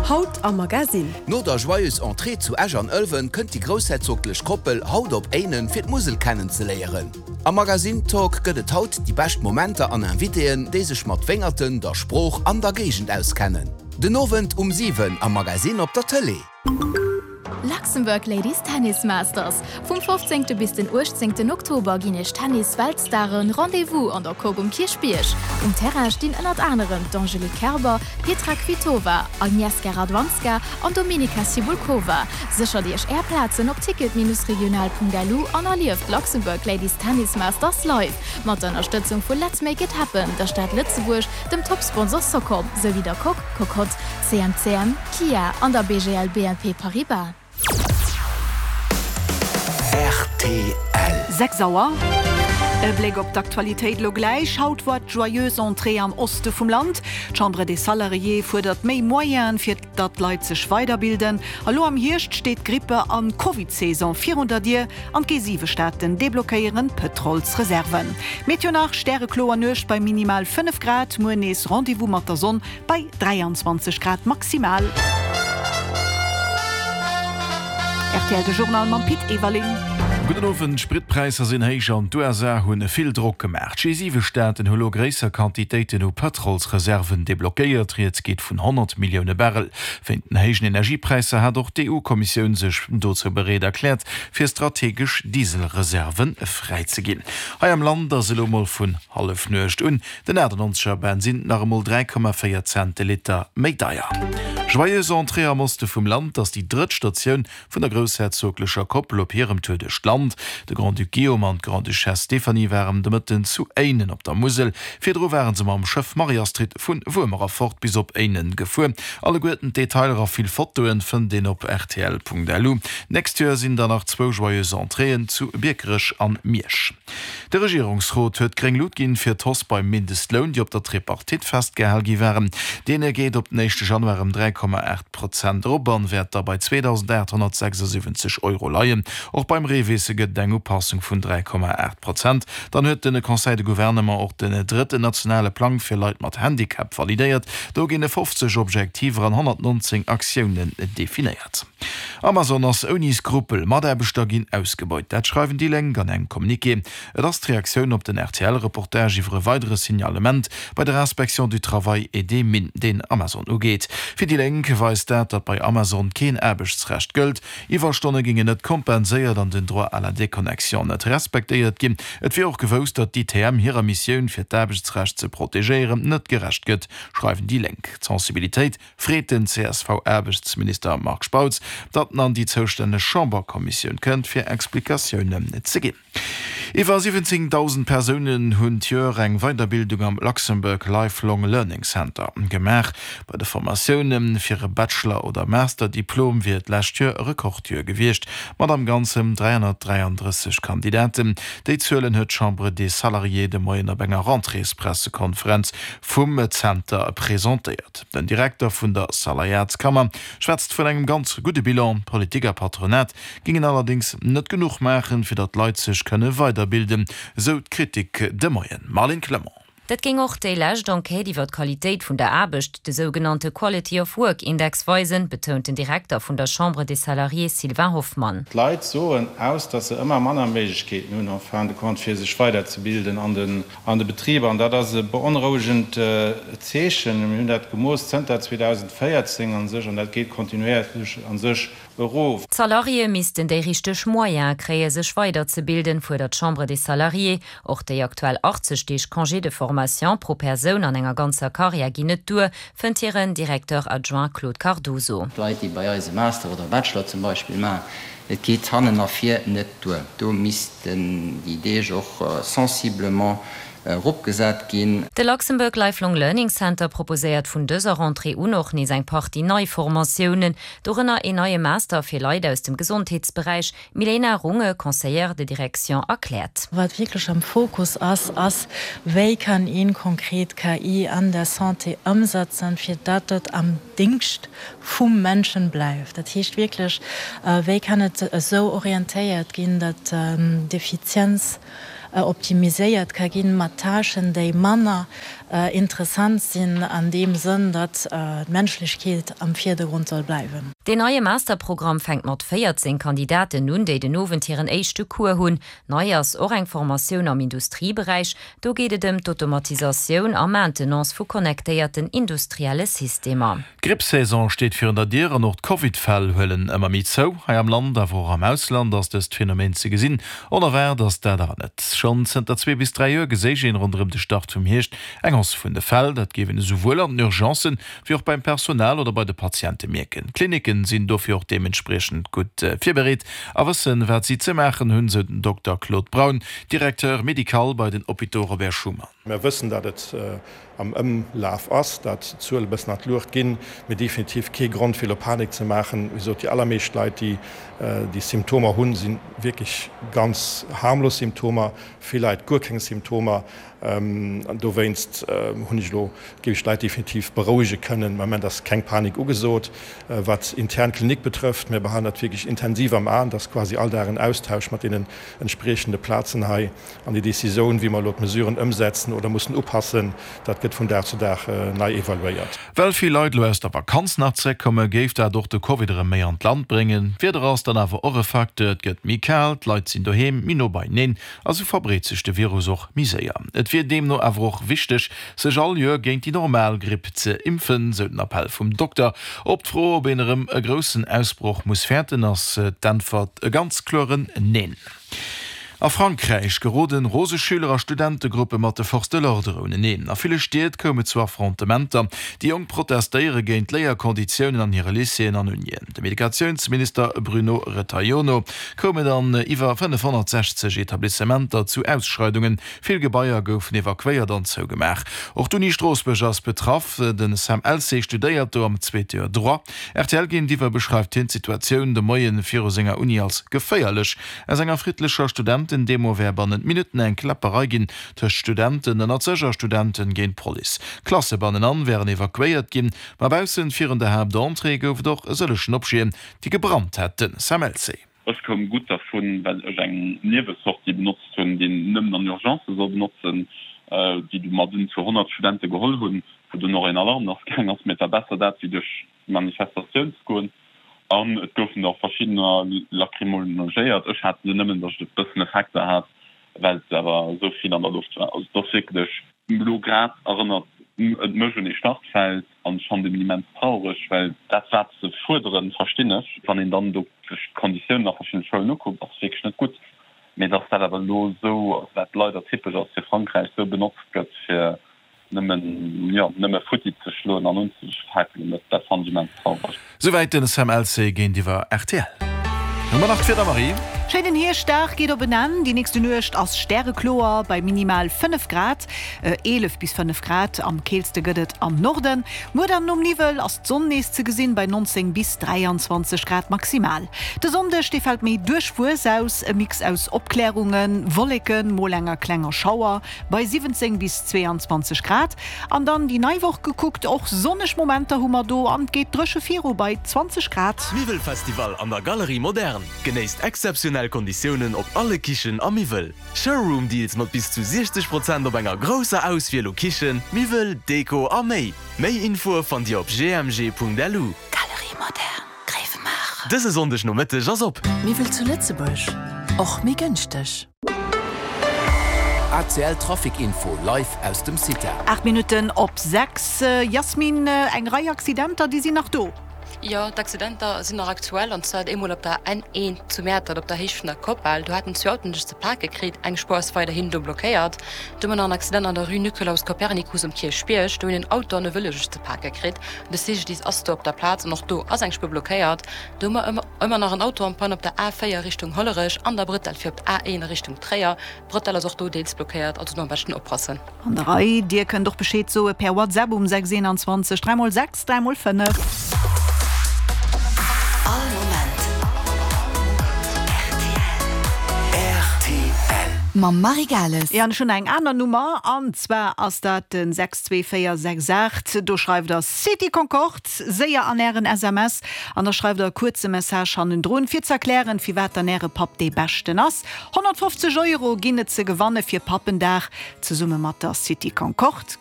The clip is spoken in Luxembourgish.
Haut am Magasinn. No der Joyeuse Entrée zu Esch an Ëlwen kënnt déi groussherzoglech Koppel haut op Éinen fir d'Musel kennenzeléieren. Am Magasinn Talk gëtt et haut déi bescht Momenter an Invitéen, déi sech mat Wéngerten, der Sprooch an der Géigend auskennen. Den Owend um 7 am Magasinn op der Tëlee. Luxembourg Ladies Tennis Masters, Vum 15. Bis den 18. Oktober ginn iech Tennis-Weltstaren Rendez-vous an der Coque um Kierchbierg. Um Terrain stinn ënnert anerem d'Angelique Kerber, Petra Kvitova, Agnieszka Radwanska an Dominika Cibulkova. Séchert iech är Plazen op ticket-regional.lu an erlieft d'Luxembourg Ladies Tennis Masters live! Mat der Ënnerstëtzung vu Let's Make It Happen, der Stad Lëtzebuerg, dem Top-Sponsor Socom, souwéi der Coque, Cocotte, CMCM, Kia an der BGL BNP Paribas. Rtl. 6 Auer. E Bléck op d'Aktualitéit elo gläich. Haut war d'Joyeuse Entrée am Oste vum Land. D'Chambre des Salariés fuerdert méi Moyenen, fir datt d'Leit sech weiderbilden. A lo am Hierscht steet d'Grippe an Covid-Saison virun der Dier an d'G7-Staaten deblockéieren d'Pëtrolsreserven. Meteo nach, Stärekloer Nuecht bei minimal 5 Grad, muer nees Rendez-vous mat der Sonn Bei 23 Grad maximal. Rtl de Journal mam Pit Everling. Gudden Owend, D'Spritpräisser sinn héich an d'USA hunn vill Drock gemaach. D'G7-Staaten hu lo gréisser Quantitéiten u Pëtrolsreserven deblockéiert. Rieds geet vun 100 Millioune Barrel. Wéint den héijen Energiepräisser hat och d'EU-Kommissioun sech dozou bereet erkläert, fir strategesch Dieselreserve fräizeginn. Hei am Land ass elo mol vun Hallefnuecht un Den 98 er Bensinn nach emol 3,4 Cent de Liter méi deier. Joyeuse Entrée am Oste vum Land ass déi drëtt Statioun vun der groussherzoglecher Koppel op hirem Tour duerch d'Land. De Grand-Duc Guillaume an d'Grande-Duchesse Stéphanie waren de Mëtten zu Éinen op der Musel. Virdru ware se mam Schëff Marie-Astrid vu Wuermer erfort bis op Éinen gefuer. Alleguerten d'Detailer a vill Fotoen fënnt een op rtl.lu. D'nächst Joer sinn dann nach zwou Joyeuse Entréeën zu Biekerech an Miersch. De Regierungsrot huet gréng Lut ginn fir d'Hausse beim Mindestloun, déi op der Tripartite festgehal gi waren. Deen geet op den éischte Januar ëm 3,8 Prozent erop an wäert da bei 2.876 Euro leien. Och beim REVIS gëtt et eng Upassung vun 3,8 Prozent. Dann huet de Conseil de Gouvernement och den drëtten nationale Plang fir Leit mat Handicap validéiert. Do ginn 50 Objektiver an 119 Aktiounen definéiert. Amazon ass ouni Skrupel, Mataarbechter ginn ausgebeut. Dat schreiwen déi Lénk an engem Communiqué. Et ass d'Reaktioun op den RTL-Reportage iwwer e weidere Signalement bei der Inspection du Travail et des Mines, deen Amazon ugeet. Fir déi Lénk weist dat, datt bei Amazon keen Aarbechtsrecht gëllt, Iwwerstonne géingen net kompenséiert an den Droit à la déconnexion net respektéiert ginn. Et wier och gewousst, datt d'ITM hirer Missioun, fir d'Aarbechtsrecht ze protegéieren, net gerecht gëtt, schreiwen déi Lénk. D'Sensibilitéit freet den CSV-Aarbechtsminister Marc Spautz, datt en an déi zoustänneg Chamberkommissioun kënnt, fir Explikatiounen ze ginn. Iwwer 17.000 Persounen hunn d'Joer eng Weiderbildung am Luxembourg Lifelong Learning Center gemaach. Bei de Formatioune fir e Bachelor oder Masterdiplom wier d'lescht Joer e Rekordjoer gewiescht, mat am Ganzen 333 Kandidaten. Déi Zuelen huet d'Chambre des Salariés de Moien op enger Rentréespressekonferenz vum Zenter presentéiert. Den Direkter vun der Salariatskammer schwätzt vun engem ganz gudde Bilan. Politik a Patronat gingen allerdéngs net genuch maachen, fir datt d'Leit sech kënne weiderbilden, esou d'Kritik de Moien. Marlene Clement. Dat géing och déi lescht Enquête iwwer d'Qualitéit vun der Aarbecht, de sougenannte Quality of Work Index, weisen, betount den Direkter vun der Chambre des Salariés Sylvain Hoffmann. D'Leit soen aus, datt se ëmmer manner Méiglechkeeten hunn en fin de compte fir sech weiderzebilden an den An de Betriber, an dat ass e beonrouegend Zeechen, mir hunn dat gemooss zënter 2014 a sech, an dat geet kontinuéierlech a sech erof. D'Salariéë missten déi richteg Moyene kréie sech weiderzebilden, fuerdert d'Chambre des Salariés. Och déi aktuell 80 Deeg Congé de formation pro Persoun an enger ganzer Karriär ginn net duer, fënnt hiren Directeur adjoint Claude Cardoso. D'Leit, déi bei eis e Master oder e Bachelor zum Beispill maachen, et geet hannen a vir net duer. Do missten déi Deeg och sensiblement eropgesat ginn. De Luxembourg Lifelong Learning Center proposéiert vun dëser Rentrée un och nees eng Partie nei Formatiounen, dorënner een neie Master fir Leit aus dem Gesondheetsberäich, D'Milena Runge, Conseillère de direction, erkläert. Wat wierklech am Fokus ass, ass, Wéi kann een konkret KI an der Santé ëmsetzen, fir datt et am Dingscht vum Menschen bleift? Dat heescht wierklech, wéi kann et esou orientéiert ginn, datt d'Effizienz optimiséiert ka ginn, mat Tâchen, déi manner. Interessant sinn an deem Sënn, datt d'Menschlechkeet am Virdergrond soll bleiwen. Deen neie Masterprogramm fänkt mat 14 Kandidaten un, déi den Owend hiren éischte Cours hunn. Nei ass och eng Formatioun am Industrieberäich. Do geet et ëm d'Automatisatioun a Maintenance vu connectéierten industrielle Systemer. D'Grippsaison steet virun der Dier an och d'Covid-Fäll huelen ëmmer méi zou. Hei am Land, awer och am Ausland ass dëst Phänomen ze gesinn. Onerwaart ass dat awer net. Schonn zënter zwee bis 3 Joer geséich een ronderëm de Start vum Hierscht eng Hausse vun de Fäll. Dat géif een esouwuel an den Urgencen, wéi och beim Personal oder bei de Patiente mierken. D'Klinicken sinn dofir och deementspriechend gutt virbereet a wëssen, wat si ze maachen hunn, sou den Dokter Claude Braun, Directeur médical bei den Hôpitaux Robert Schuman. Mir wëssen, datt et am Ëmlaf ass, datt d'Zuele e bëssen an d'Luucht ginn, mee definitiv kee Grond fir elo Panik ze maachen. Wéi gesot, déi allermeescht Leit, déi déi Symptomer hunn, si wierklech ganz harmlos Symptomer, vill Leit guer keng Symptomer. An dowéinst hunn ech elo, géif ech d'Leit definitiv berouege kënnen, am Moment ass keng Panik ugesot. Wat intern Klinik betrëfft, mir behalen dat wierklech intensiv am Aen, et ass quasi all Dag en Austausch mat deenen entspriechende Plazen hei. An déi Decisioun, wéi mer elo d'Mesuren ëmsetzen oder mussen upassen, dat gëtt vun Dag zu Dag nei evaluéiert. Well vill Leit elo aus der Vakanz nach zeréckkommen, géif dat och de Covid erëm méi an d'Land bréngen. D'Wieder ass dann awer och e Facteur, et gëtt méi kal, d'Leit sinn doheem, méi no beieneen a sou verbreet sech de Virus och méi séier. Et wier deemno awer och wichteg, sech all Joer géint déi normal Gripp ze impfen, sou den Appell vum Dokter. Op d'Fro, ob een erëm e groussen Ausbroch muss fäerten, ass d'Äntwert e ganz kloren Neen. A Frankräich geroden rose Schüler a Studentegruppe mat de Forces de l'ordre uneneen. A ville Stied koum et zu Affrontementer. Déi Jonk protestéiere géint d'Léierkonditiounen an hire Lycéeën an Unien. Dem Educatiounsminister Bruno Retailleau no koum et an iwwer 560 Etablissementer zu Ausschreidungen. Vill Gebaier goufen evakuéiert an zougemaach. Och d'Uni Stroossbuerg ass betraff. De Sam Elsey studéiert do am zweete Joer Droit. Rtl géintiwwer beschreift hien d'Situatioun de Moie viru senger Uni als geféierlech. Aus enger friddlecher Studentendemo wär bannent Minutten eng Kläpperei ginn tëscht Studenten ënnert sech a Studenten géint d'Police. Klasse bannenan wären evakuéiert ginn, ma baussen virun der Haaptentrée gouf et och e sëllechen Objeten, déi gebrannt hätten. Sam Elsey. Ech koum gutt dervun, well ech eng Niewesortie benotzt hunn, déi een nëmmen an Urgencë soll benotzen, déi du mer dunn zu 100 Studente geholl hunn, wou dunn och een Alarm lass gaang ass. Mee et war besser dat, wéi duerch d'Manifestatioun ze goen. An et goufen der och verschiddener lacrymonogéiert. Ech hat se nëmmen, datt ech e bëssen Effekter hat, well et awer esou vill an der Loft war. Also et ass wierklech. Elo grad erënnert et mech un ee Startfeld an ech fannen et immens traureg, well dat wat se fuerderen, verstinn ech. Wann een dann do sech d'Konditiounen a verschiddene Schoulen ukuckt, ass et wierklech net gutt. Mee datt dat awer elo esou, wat leider typesch ass fir Frankräich, esou benotzt gëtt fir Nëmmen, jo, nëmme futti ze schloen an unzefakelen, dat, dat fannen ech immens traureg. Souwäit den Sam Elsey géintiwwer rtl. Hu mer nach d'Wieder, Marie? Schéinen Hierschtdag geet op en Enn. Déi nächste Nuecht ass stärekloer bei minimal 5 Grad, 11 bis 5 Grad am keelste gëtt et am Norden. Muer dann nom Niwwel ass d'Sonn nees ze gesinn bei 19 bis 23 Grad maximal. De Sonndeg, dee fält méi duerchwuess aus, e Mix aus Opklärungen, Wolleken, mol enger klenger Schauer Bei 17 bis 22 Grad. An dann déi nei Woch gekuckt, och sonneg Momenter hu mer do an et geet dréche viru bei 20 Grad. Miwwelfestival an der Galerie Moderne. Genéisst exzeptionell Konditiounen op alle Kichen a Miwwel. Showroom Deals mat bis zu 60 Prozent op enger grousser Auswiel u Kichen, Miwwel, Deko a méi. Méi Infoe fannt Dir op gmg.lu. Galerie Moderne, Gréiwemaacher. Dëse Sonndeg Nomëtteg ass op. Miwwel zu Lëtzebuerg, och méi gënschteg. ACL Trafic Info live aus dem CITA. 8 Minutten op 6, Yasmine, eng Rei Accidenter, déi sinn nach do. Jo, d'Accidenter sinn nach aktuell, an zwar eemol op der N1 zu Mäertert op der Héicht vun der Koppel. Do haten zwee Autoen sech ze pake kritt, eng Spuer ass weiderhin do blockéiert. Du hu mer nach en Accident an der Rue Nicolaus Copernicus um Kierchbierg. Do hunn en Auto an e Vëlo sech ze pake kritt. De CGDIS ass do op der Plaz an och do ass eng Spuer blockéiert. Do hu mer ëmmer. Ëmmer nach en Auto en panne op der A4 Richtung Hollerech an der Brëttel fir op d'A1 a Richtung Tréier. D'Brëttel ass och do deels blockéiert, also do am beschten oppassen. An der Rei, Dir kënnt och Bescheed soe per WhatsApp um 6 21 3 mol 6 3 mol 5. All Moment rtl. Rtl. Mam Marie Gales. Jo, an ech hunn nach eng aner Nummer, an zwar ass dat den 62468. Do schreift der City Concorde séier an ären SMS an da schreift der e kuerze Message hannendrun, fir ze erklären, firwat dann äre Papp dee beschten ass. 150 Euro ginn et ze gewanne fir Pappendag zesumme mat der City Concorde.